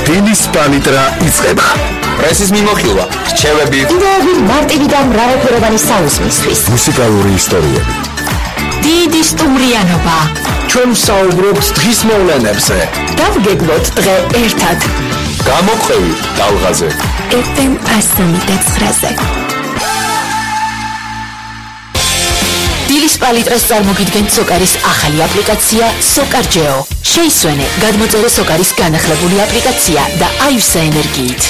დილის პალიტრა იწყება. პრესის მიმოხილვა, რჩევები, იდეები მარტივი და მრავალფეროვანი საუზმისთვის. მუსიკალური ისტორიები. დიდი სტუმრიანობა. ჩვენ საუბრობთ დღის მოვლენებზე. დავგეგმოთ დღე ერთად. გამომხევი ტალღაზე. FM 109-ზე. დილის პალიტრას წარმოგიდგენთ სოკარის ახალი აპლიკაცია SOCARGEO. შეისვენე, გადმოწერე სოკარის განახლებული აპლიკაცია და აივსა ენერგიით.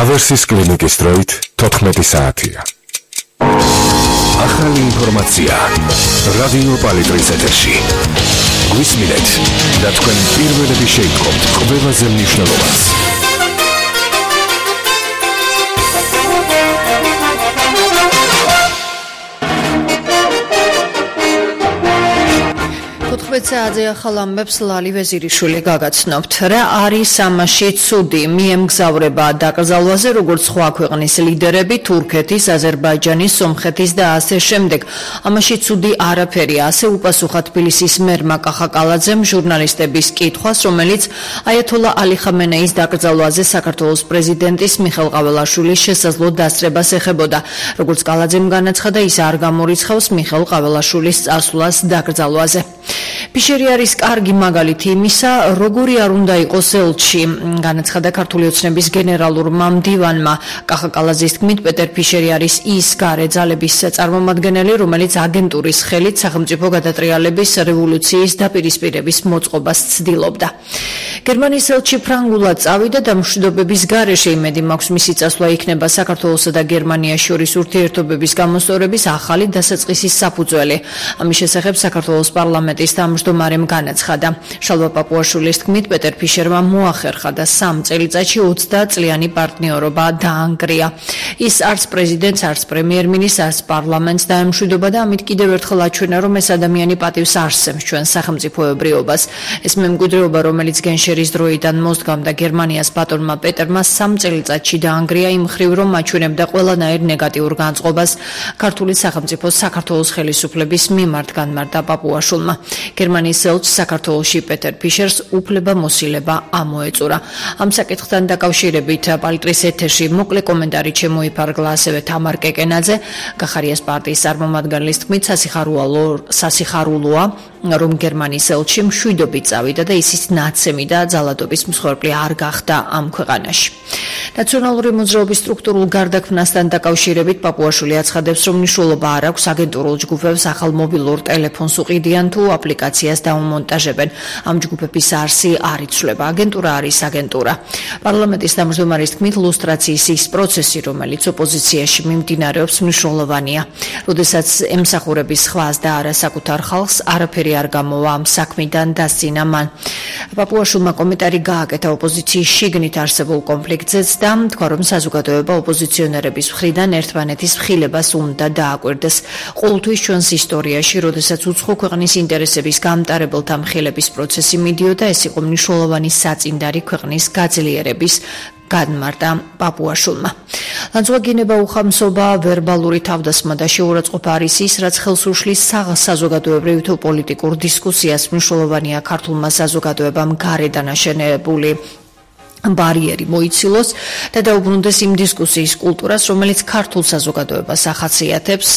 ავერსის კლინიკის დროით 14 საათია. ახალი ინფორმაცია რადიო პალიტრის ეთერში. გვისმინეთ და თქვენ პირველები შეიტყობთ ყველაზე მნიშვნელოვანს. საათზე ახალ ამბებს ლალი ვეზირიშვილი გაგაცნობთ. რა არის ამაში ცუდი? მიემგზავრება დაკრძალვაზე როგორც სხვა ქვეყნის ლიდერები, თურქეთის, აზერბაიჯანის, სომხეთის და ასე შემდეგ. ამაში ცუდი არაფერია, ასე უპასუხა თბილისის მერმა კახაკალაძემ ჟურნალისტების კითხვას, რომელიც აიათოლა ალი ხამენეის დაკრძალვაზე საქართველოს პრეზიდენტის მიხეილ ყაველაშვილის შესაძლო დასწრებას ეხებოდა. როგორც კალაძემ განაცხადა, ის არ გამორიცხავს მიხეილ ყაველაშვილის წასვლას დაკრძალვაზე. ფიშერი არის კარგი მაგალითი იმისა, როგორი არ უნდა იყოს ელჩი, განაცხადა ქართული ოცნების გენერალურმა მდივანმა. კახაკალაძის თქმით, პეტერ ფიშერი არის ის გარე ძალების წარმომადგენელი, რომელიც აგენტურის ხელით სახელმწიფო გადატრიალების რევოლუციის დაპირისპირების მოწყობას ცდილობდა. გერმანიის ელჩი ფრანგულად წავიდა და მშვიდობების გარეშე იმედი მაქვს მისი წასვლა იქნება საქართველოსა და გერმანიას შორის ურთიერთობების გამოსწორების ახალი დასაწყისის საფუძველი. ამის შესახებ საქართველოს პარლამენტის თავმჯდომარემ განაცხადა. შალვა პაპუაშვილის თქმით, პეტერ ფიშერმა მოახერხა და 3 წელიწადში 20 წლიანი პარტნიორობა დაანგრია. ის არც პრეზიდენტს, არც პრემიერ-მინისტრს, არც პარლამენტს დაემშვიდობა და ამით კიდევ ერთხელ აჩვენა, რომ ეს ადამიანი პატივს არსებს ჩვენ სახელმწიფოებრიობას. ეს მემკვიდრეობა, რომელიც გენშერის დროიდან მოსდგამდა გერმანიას ბატონმა პეტერმა 3 წელიწადში დაანგრია იმ მხრივ, რომ აჩვენებდა ყველანაირ ნეგატიურ განწყობას ქართული სახელმწიფოს საქართველოს ხელისუფლების მიმართ, განმარტა პაპუაშვილმა. გერმანიის ელჩს საქართველოში პეტერ ფიშერს უფლებამოსილება ამოეწურა. ამ საკითხთან დაკავშირებით პალიტრის ეთერში მოკლე კომენტარი შემოიფარგლა ასევე თამარ კეკენაძე, გახარიას პარტიის წარმომადგენლის თქმით, სასიხარულოა, რომ გერმანიის ელჩი მშვიდობით წავიდა და ისიც ნაცემი და ძალადობის მსხვერპლი არ გახდა ამ ქვეყანაში. ნაციონალური მოძრაობის სტრუქტურულ გარდაქმნასთან დაკავშირებით პაპუაშვილი აცხადებს, რომ მნიშვნელობა არ აქვს აგენტურულ ჯგუფებს ახალ მობილურ ტელეფონს უყიდიან თუ აპლიკაციას დაუმონტაჟებენ. ამ ჯგუფების არსი არ იცვლება. აგენტურა არის აგენტურა. პარლამენტის თავმჯდომარის თქმით, ლუსტრაციის ის პროცესი, რომელიც ოპოზიციაში მიმდინარეობს, მნიშვნელოვანია. როდესაც ემსახურების სხვას და არა საკუთარ ხალხს, არაფერი არ გამოვა ამ საქმიდან დასცინა მან. პაპუაშვილმა კომენტარი გააკეთა ოპოზიციის შიგნით არსებულ კონფლიქტზეც და თქვა, რომ საზოგადოება ოპოზიციონერების მხრიდან ერთმანეთის მხილებას უნდა დააკვირდეს. ყოველთვის ჩვენს ისტორიაში, როდესაც უცხო ქვეყნის ინტერესების გამტარებელთა მხილების პროცესი მიდიოდა, ეს იყო მნიშვნელოვანი საწინდარი ქვეყნის გაძლიერების, განმარტა პაპუაშვილმა. ლანძღვაგინება, უხამსობა, ვერბალური თავდასხმა და შეურაცხყოფა არის ის, რაც ხელს უშლის საზოგადოებრივ თუ პოლიტიკურ დისკუსიას. მნიშვნელოვანია ქართულმა საზოგადოებამ გარედან აშენებული ბარიერი მოიცილოს და დაუბრუნდეს იმ დისკუსიის კულტურას, რომელიც ქართულ საზოგადოებას ახასიათებს.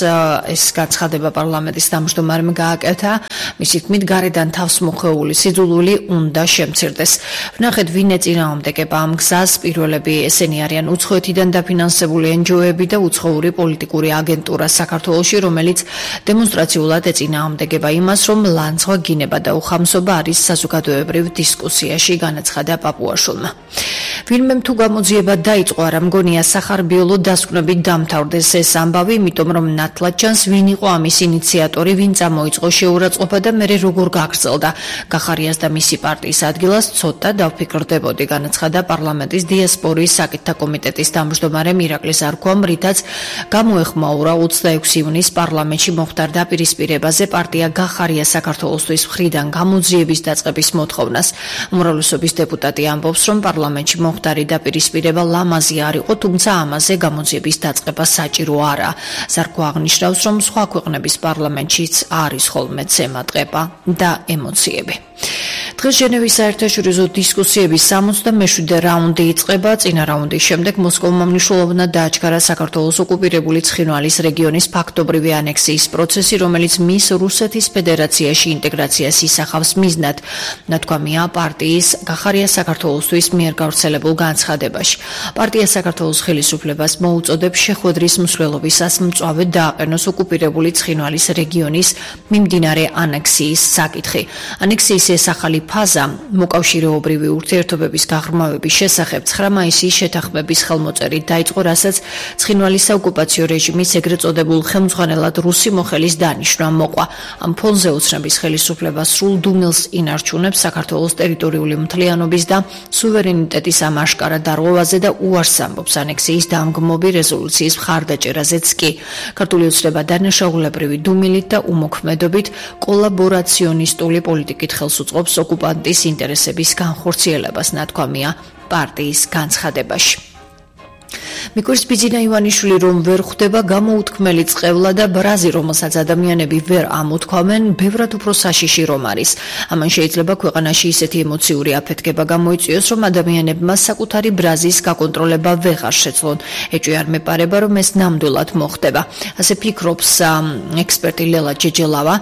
ეს განცხადება პარლამენტის თავმჯდომარემ გააკეთა. მისი თქმით, გარედან თავს მოხეული სიძულვილი უნდა შემცირდეს. ვნახეთ, ვინ ეწინააღმდეგება ამ გზას. პირველები ესენი არიან უცხოეთიდან დაფინანსებული NGO-ები და უცხოური პოლიტიკური აგენტურა საქართველოში, რომელიც დემონსტრაციულად ეწინააღმდეგება იმას, რომ ლანძღვაგინება და უხამსობა არის საზოგადოებრივ დისკუსიაში, განაცხადა პაპუაშვილმა. ვინმემ თუ გამოძიება დაიწყო, არ მგონია სახარბიელო დასკვნებით დამთავრდეს ეს ამბავი, იმიტომ რომ ნათლად ჩანს, ვინ იყო ამის ინიციატორი, ვინ წამოიწყო შეურაცხყოფა და მერე როგორ გაგრძელდა. გახარიას და მისი პარტიის ადგილას ცოტა დავფიქრდებოდი, განაცხადა პარლამენტის დიასპორიის საკითხთა კომიტეტის თავმჯდომარე ირაკლი ზარქვამ, რითაც გამოეხმაურა 26 ივნისს პარლამენტში მოხდარ დაპირისპირებაზე პარტია გახარია საქართველოსთვის მხრიდან გამოძიების დაწყების მოთხოვნას. უმრავლესობის დეპუტატი ამბობს, რომ პარლამენტში მოხდარი დაპირისპირება ლამაზი არ იყო, თუმცა ამაზე გამოძიების დაწყება საჭირო არაა. ზარქვა აღნიშნავს, რომ სხვა ქვეყნების პარლამენტშიც არის ხოლმე ცემა ტყეპა და ემოციები. დღეს ჟენევის საერთაშორისო დისკუსიების 67-მე რაუნდი იწყება. წინა რაუნდის შემდეგ მოსკოვმა მნიშვნელოვნად დააჩქარა საქართველოს ოკუპირებული ცხინვალის რეგიონის ფაქტობრივი ანექსიის პროცესი, რომელიც მის რუსეთის ფედერაციაში ინტეგრაციას ისახავს მიზნად. ნათქვამია პარტიის გახარია საქართველოსთვის მიერ გავრცელებულ განცხადებაში. პარტია საქართველოს ხელისუფლებას მოუწოდებს შეხვედრის მსვლელობისას მწვავედ დააყენოს ოკუპირებული ცხინვალის რეგიონის მიმდინარე ანექსიის საკითხი. ანექსიის ეს ახალი ფაზა მოკავშირეობრივი ურთიერთობების გაღრმავების შესახებ 9 მაისის შეთანხმების ხელმოწერით დაიწყო, რასაც ცხინვალის საოკუპაციო რეჟიმის ეგრეთ წოდებულ ხელმძღვანელად რუსი მოხელის დანიშვნა მოყვა. ამ ფონზე ოცნების ხელისუფლება სრულ დუმილს ინარჩუნებს საქართველოს ტერიტორიული მთლიანობის და სუვერენიტეტის ამ აშკარა დარღვევაზე და უარს ამბობს ანექსიის დამგმობი რეზოლუციის მხარდაჭერაზეც კი. ქართული ოცნება დანაშაულებრივი დუმილით და უმოქმედობით კოლაბორაციონისტული პოლიტიკით ხელს უწყობს ოკუპანტის ინტერესების განხორციელებას, ნათქვამია პარტიის განცხადებაში. მიკურის ბიძინა ივანიშვილი რომ ვერ ხვდება გამოუთქმელი წყევლა და ბრაზი, რომელსაც ადამიანები ვერ ამოთქვამენ, ბევრად უფრო საშიში რომ არის. ამან შეიძლება ქვეყანაში ისეთი ემოციური აფეთქება გამოიწვიოს, რომ ადამიანებმა საკუთარი ბრაზის გაკონტროლება ვეღარ შეძლონ. ეჭვი არ მეპარება, რომ ეს ნამდვილად მოხდება. ასე ფიქრობს ექსპერტი ლელა ჯეჯელავა.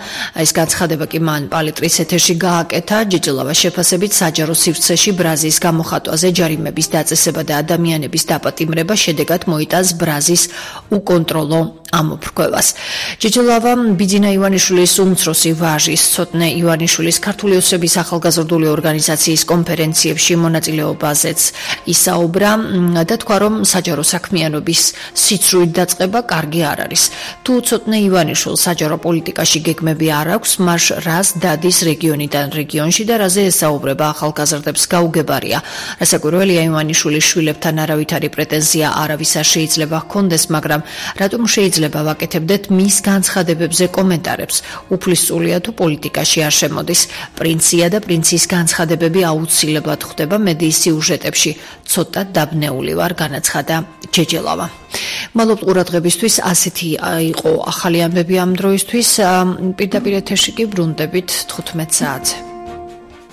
ეს განცხადება კი მან პალიტრის ეთერში გააკეთა. ჯეჯელავა შეფასებით საჯარო სივრცეში ბრაზის გამოხატვაზე ჯარიმების დაწესება და ადამიანების დაპატიმრება შედეგად მოიტანს ბრაზის უკონტროლო ამოფრქვევას. ჯეჯელავა ბიძინა ივანიშვილის უმცროსი ვაჟის ცოტნე ივანიშვილის ქართული ოცნების ახალგაზრდული ორგანიზაციის კონფერენციებში მონაწილეობაზეც ისაუბრა და თქვა, რომ საჯარო საქმიანობის სიცრუით დაწყება კარგი არ არის. თუ ცოტნე ივანიშვილს საჯარო პოლიტიკაში გეგმები არ აქვს, მას რას დადის რეგიონიდან რეგიონში და რაზე ესაუბრება ახალგაზრდებს გაუგებარია. რასაკვირველია, ივანიშვილის შვილებთან არავითარი პრეტენზია არავის არ შეიძლება ჰქონდეს, მაგრამ რატომ შეიძლება ვაკეთებდეთ მის განცხადებებზე კომენტარებს? უფლისწულია თუ პოლიტიკაში არ შემოდის. პრინცია და პრინცის განცხადებები აუცილებლად ხვდება მედიის სიუჟეტებში. ცოტა დაბნეული ვარ, განაცხადა ჯეჯელავა. მადლობთ ყურადღებისთვის. ასეთი იყო ახალი ამბები ამ დროისთვის. პირდაპირ ეთერში კი ბრუნდებით 15 საათზე.